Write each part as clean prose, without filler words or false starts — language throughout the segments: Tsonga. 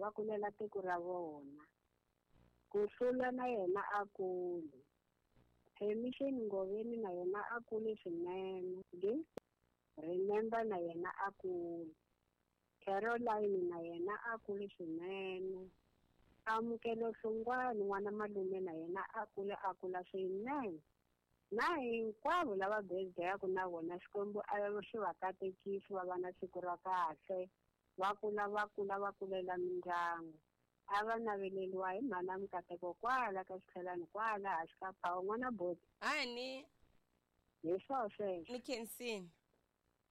va kulela tiko ra vona. Ku hlula na yena a kule. Permission Ngoveni na yena a kule swinene. Remember na yena a kule. Caroline na yena a kule swinene. Amukelo Hlongwane n'wana malume na yena a kule a kula swinene. Na hinkwavo lava birthday-aku na vona Xikwembu a xi va katekisi va va na siku ra kahle. Va kula va kula va kulela mindyangu. A va naveleliwa hi mhana Mikateko kwala ka xitlhelani kwala hansi ka phawu n'wana boti. Hani. Hi swo sweswo. Ni khensini.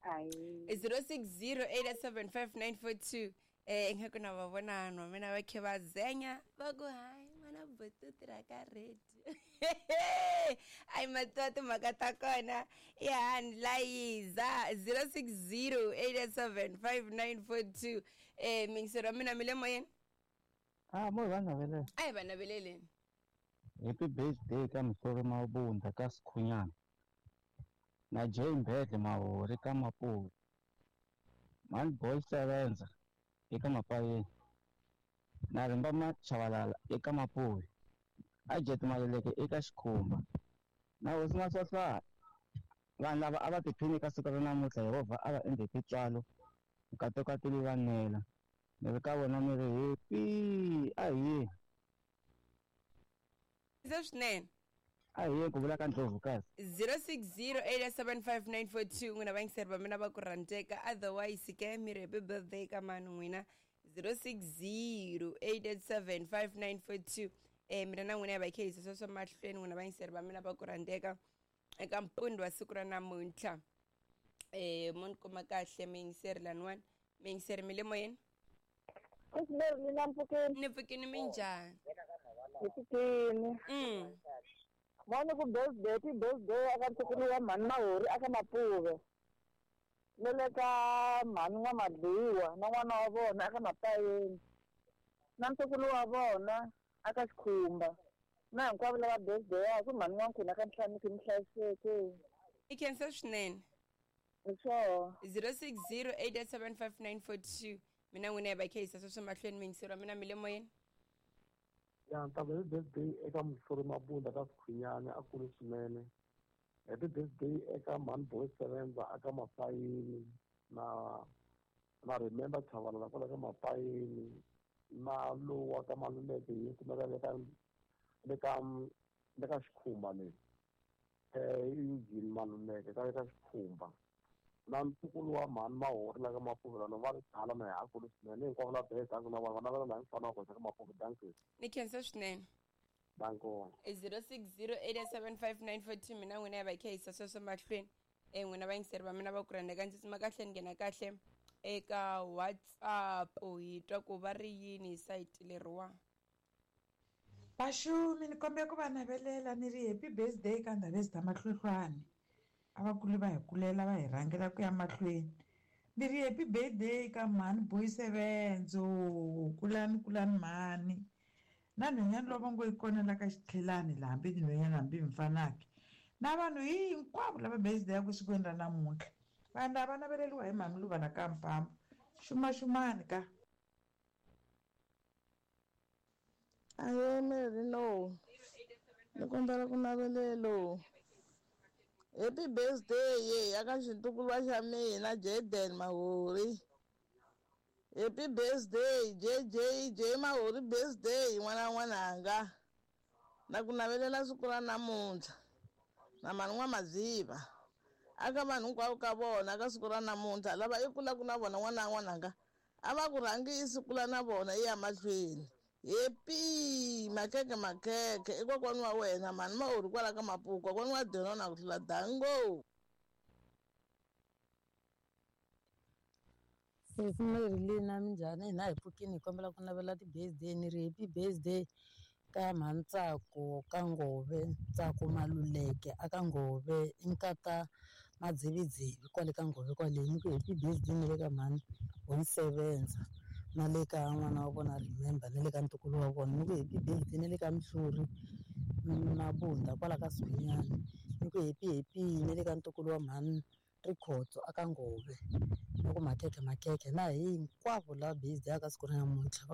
Ayi. 0608755942 ingaku na va vona vanhu va mina va khe va zenya va ku hayi n'wana boti u tirha ka radio. Ayi mativa timhaka ta kona i hani layiza 0608755942 mingisero wa mina mi le moyeni. Ah, mo va navelela. A hi va naveleleni. Happy birthday ka Mhlori Mabunda ka Sikhunyana. Na Jay Mbedle Mahori ka Mapuri. Man Boy Sevenza eka Mapayeni. Na Rimba Machavalala eka Mapuri. Ajet Maleleke eka Xikhumba. Na Hosi Maswahlwana. Vanhu lava a va tiphini ka siku ra namuntlha Yehovha a va endle tintswalo. Nkateko a ti vanela. Ni ri ka vona ni ri happy a hi. Se swinene. A hi ku vula ka Ndlovukazi. 0608755942 n'wina vayingiseri va mina va ku rhandzeka otherwise ke mi ri happy birthday ka mani n'wina 0608755942 mina na n'wina hi va hi khe hi yisa sweswo mahlweni n'wina vayingiseri va mina va ku rhandzeka eka mpundzu wa siku ra namuntlha. Mo ni kuma kahle miyingiseri laniwani. Miyingiseri mi le moyeni? Ni pfukini minjhani? Hi pfukini. Moni ku birthday ti birthday aka ntukulu wa mhani Mahori aka Mapuve. Na le ka mhani N'wamadliwa na n'wana wa vona aka Mapayeni. Na ntukulu wa vona aka Xikhumba. Na hinkwavo lava birthday-aku mhani N'wankhuna aka Ntlhamiki mi hlayiseke. I khensa swinene. Hi swona. 0608755942 mina n'wina hi va khe yisa sweswo mahlweni miyingiseri wa mina mi le moyeni. Ya ntamu happy birthday eka Mhlori Mabunda ka Sikhunyana a kule swinene. Happy birthday eka Mhani Boy Sevenza aka Mapayeni na Remember Chavalala kwala ka Mapayeni na lowa ka Maluleke yi kumeka le ka Xikhumba le. Eugene Maluleke ka le ka Xikhumba. Na ntukulu wa mhani Mahori la ka Mapuve lano va ri tala na ha kule swinene hinkwavo la birthday na vona va navela laha mfana wa koxa ka Mapuve. Dankie. Ni khensa swinene. Danko. 0608755942 mina n'wina hi va hi khe yisa sweswo mahlweni. N'wina vayingiseri va mina va ku rhandzeka ndzi tsima kahle ni nghena kahle eka WhatsApp hi twa ku va ri yini hi sayiti leriwa. Vaxumi ni kombela ku va navelela ni ri happy birthday ka Ndhavezitha Mahlohlwani. A va kule va hi kulela va hi rhangela ku ya mahlweni. Ni ri happy birthday ka mhani Boy Sevenzo. Kulani kulani mhani. Na nhwanyana lowu va ngo yi kona la ka xitlhelani laha hambi tinhwanyana hambi mfanaki. Na vanhu hinkwavo lava birthday-aku sikwini ra namuntlha. Vanhu lava naveleriwa hi mhani Luva la ka Mpfambo. Xumaxumani ka. Aye Mary no. Ni kombela ku navelelo. Happy birthday ye aka xintukuluwa xa mina Jaden Mahori. Happy birthday JJ J Mahori birthday n'wana n'wananga. Na ku navelela siku ra namuntlha. Na mhani N'wamadziva. Aka vanhu hinkwavo ka vona ka siku ra namuntlha lava i kulaka na vona n'wana n'wananga. A va ku rhangisi kula na vona i ya mahlweni. Happy makeke makeke i kokwani wa wena mhani Mahori kwala ka Mapuku kokwani wa Denona ku tlula dango. Sesi Mary Lina minjhani hina hi pfukini hi kombela ku navela ti-birthday ni ri happy birthday ka mhani Ntsako ka Ngove Ntsako Maluleke aka Ngove i nkata Madzividzivi kwale ka Ngove kwale ni ku happy birthday ni le ka mhani Bonsevenza na le ka n'wana wa vona Remember na le ka ntukulu wa vona ni ku happy birthday ni le ka Mhluri Mabunda kwala ka Sikhunyana ni ku happy happy ni le ka ntukulu wa mhani Rikhotso aka Ngove ni ku makeke makeke na hinkwavo lava birthday aka siku ra namuntlha.